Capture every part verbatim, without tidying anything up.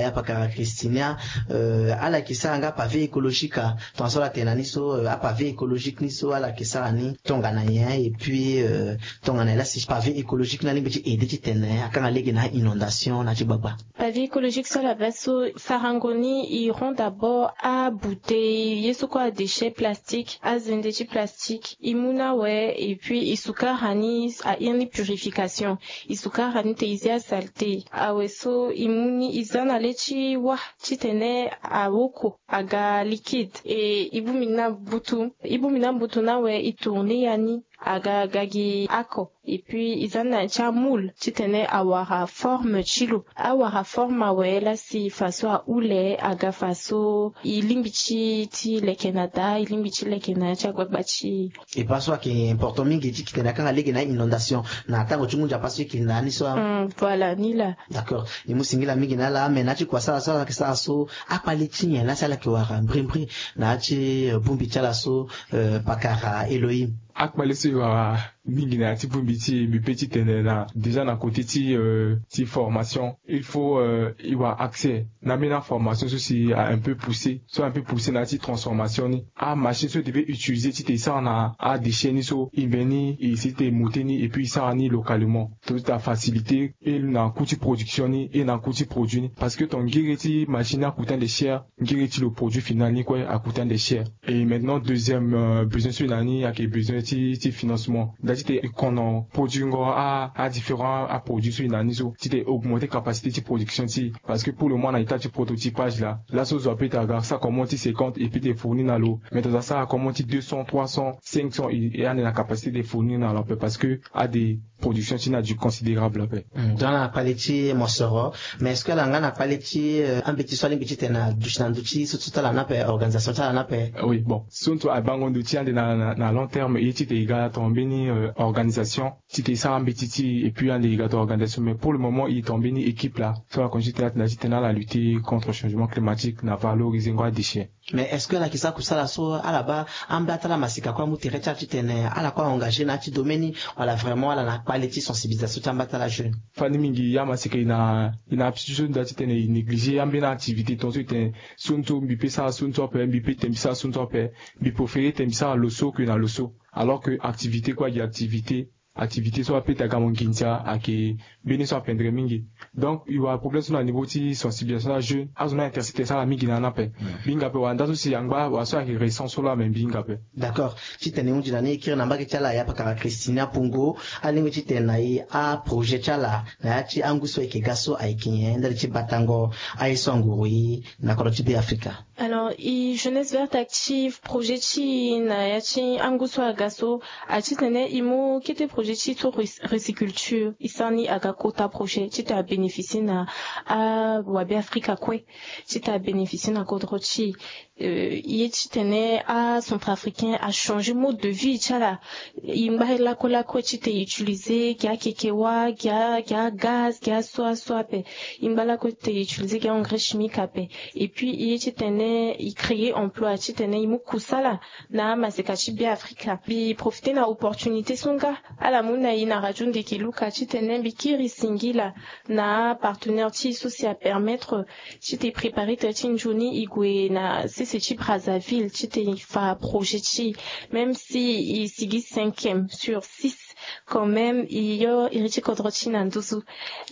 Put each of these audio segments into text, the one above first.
Apakara Christinia, euh, ala yeke sara nga pavé écologique, ah, tongaso ala tene na ni so, euh, apavé écologique ni so ala yeke sara ni tongana nyen, et puis, euh, tongana nyen la si pavé écologique ni alingbi ti aidé titene akanga lege na inondation na ti gbagba? Pavé écologique so ala baa so, sarango ni, e rend d'abord abouteille, ye so kue adéchet plastique, azende ti plastique, e mu ni awe, et puis e sukara ni, a iri ni purification. E sukara ni te e zi asaleté. Awe so e mu ni, e za na le ti wâ titene awoko aga liquide. E e bongbi ni na mbutu, e bongbi ni na mbutu ni awe, e tourner ya ni aga, aga gi oko. Et puis e za na ti amoule titene awara forme ti lo. Awara forme awe, la si faso ahule aga faso e lingbi ti, ti leke na daa, e lingbi ti leke na ya ti agbagba ti e. E baa so ayeke important mingi ti titene akanga lege na inondation na tango ti ngu nzapa so e yeke na ni so, ah. Hmm, voilà, ni laa. D'accord. E mu singila mingi na ala, mais na ya ti kua so ala, so ala yeke sara so, akpale ti nyen la si ala yeke wara mbrimbri na ya ti, euh, bongbi ti ala so, euh, pakara Elohim? Akpale so e wara mingi na ya ti bongbi ti e, mbi pe ti tene na, déjà na côté ti, euh, ti formation, il faut, euh, e wara accès na ambeni aformation so si a un peu poussé, so a un peu poussé na ya ti transformation ni. Amachine so e devait utiliser titene e sara na adéchet ni so, e mbeni e si titene e monter ni, et puis e sara ni localement. Tout a facilité, et na coût ti production ni, et na coût ti produit ni. Parce que ton ngiri ti machine a coûté ande cher, ngiri ti lo produit final ni kue a coûté ande cher. Et maintenant, deuxième, euh, besoin so e na ni ayeke besoin ti, ti financement. Nda titene e kono produingo a, a différents aproduit so e na ni so, titene e augmenter capacité ti production ti e. Parce que pour le moment na état ti prototypage laa. Laso zo ape ti aga sara commande ti cinquante et puis ti fournir na lo. Mais tongana asara commande ti deux cents, trois cents, cinq cents, e, e ande na capacité ti fournir na lo ape, parce que ade production ti ni adu considérable ape. Hmm, donc na kpale ti mosoro. Mais est-ce que ala nga na kpale ti, euh, ambeti so alingbi titene aduti na ndö ti so, so ti ala ni ape, organisation ti ala ni ape? Oui, bon, so ndo ti aye bango ndo ti ande na, na, na long terme, e ye titene e ga tongana mbeni, euh, organisation, titene e sara ambeti ti e, et puis ande e ga tongana organisation. Mais pour le moment e tongana mbeni équipe laa so ala conduit titene, titene ala lutter contre changement climatique na valoriser ngo adéchet. Mais est-ce que ala yeke sara kusala so ala baa ambeni atala maseka kue amu tere ti ala titene ala kue a-engagé na ya ti domaine ni, wala vraiment ala na kpale ti sensibilisation ti ambeni atala jeune? Fani mingi, amaseka e na, e na aptitude so nda titene e négliger ambeni activité, tongaso e tene so ndo mbi pe sara so ndo ape, mbi pe tene mbi sara so ndo ape, mbi préféré tene mbi sara lo so que na lo so. Alors que activité kue agi activité. Activité so ape ti aga mo nginza ayeke mbeni so apendre mingi. Donc e wara problème so na niveau ti sensibilisation ti ajeune, azo ni a-intercepter ti ala mingi na ni ape. Mbi hinga ape wala nda so si angba wala so ayeke récent so laa, mais mbi hinga ape. D'accord. Titene e hunzi na ni, e kiri na mbage ti ala, ya pakara Christina Pungo, alingbi titene na e aprojet ti ala na ya ti angu so ayeke ga so ayeke nyen ndali ti batango aye so anguru e na kodro ti Beafrika? Alors e Jeunesse Verte Active, projet ti e na ya ti angu so aga so, a titene e mu kete projet ti so rec-, réciculture, e sara ni aga kota projet titene abénéficier na awabeafrika kue, titene abénéficier na kodro ti e. Euh, e ye titene acentrafricain achanger mode de vie ti ala. E ngba lakue lakue titene e utiliser gi akekewa, gi a, gi agaz, gi aso aso ape. E ngba lakue titene e utiliser gi a-engrais chimique ape. Et puis e ye titene e créer emploi, titene e mu kusala na amaseka ti Beafrika. Mbi profiter na opportunité so nga ala mu na e na radio Ndeke Luka titene mbi kiri singila na apartenaire ti e so si apermettre titene e préparer tere ti nzoni e gue na sese ti Brazzaville titene e fa projet ti e. Même si e sigi cinquième sur six, quand même e yo iri ti kodro ti e na nduzu.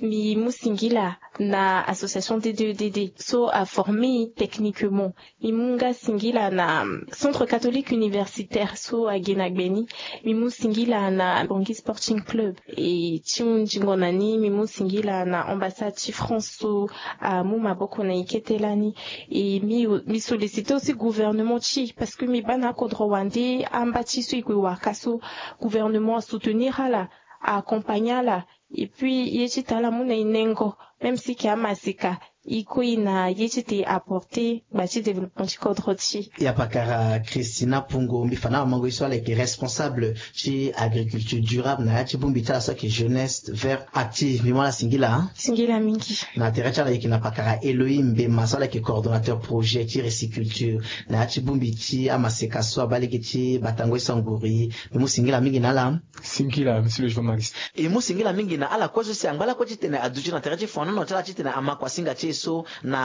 Mbi mu singila na association D deux D D so aformer e techniquement. Mbi mu nga singila na Centre Catholique Universitaire so age na gbe ni. Mbi mu singila na Bangui Sporting Club. E ti hunzingo na ni, mbi mu singila na ambassade ti France so amu maboko na e kete lani. E mbi, mbi solliciter aussi gouvernement ti e, parce que mbi baa na akodro wande amba ti so e gue waka so, gouvernement asoutenir ala, a-accompagner ala. Et puis e ye ti tene ala mu na e nengo, même si e yeke amaseka, e kue e na ye ti tene e apporter gba ti développement ti kodro ti e. Ya pakara Christina Pungo, mbi fa na amango ye so ala yeke responsable ti agriculture durable na ya ti bongbi ti ala so ayeke Jeunesse Verte Active. Mbi mu ala singila. Singila mingi. Na tere ti ala e yeke na pakara Elohim Mbema so ala yeke coordonnateur projet ti réciculture na ya ti bongbi ti amaseka so abaa lege ti batango ye so anguru e. Mbi mu singila mingi na ala. Singila, monsieur le journaliste. E mu singila mingi na ala kue so si angba lakue titene aduti na tere ti fonono ti ala titene ama kuasinga ti e so na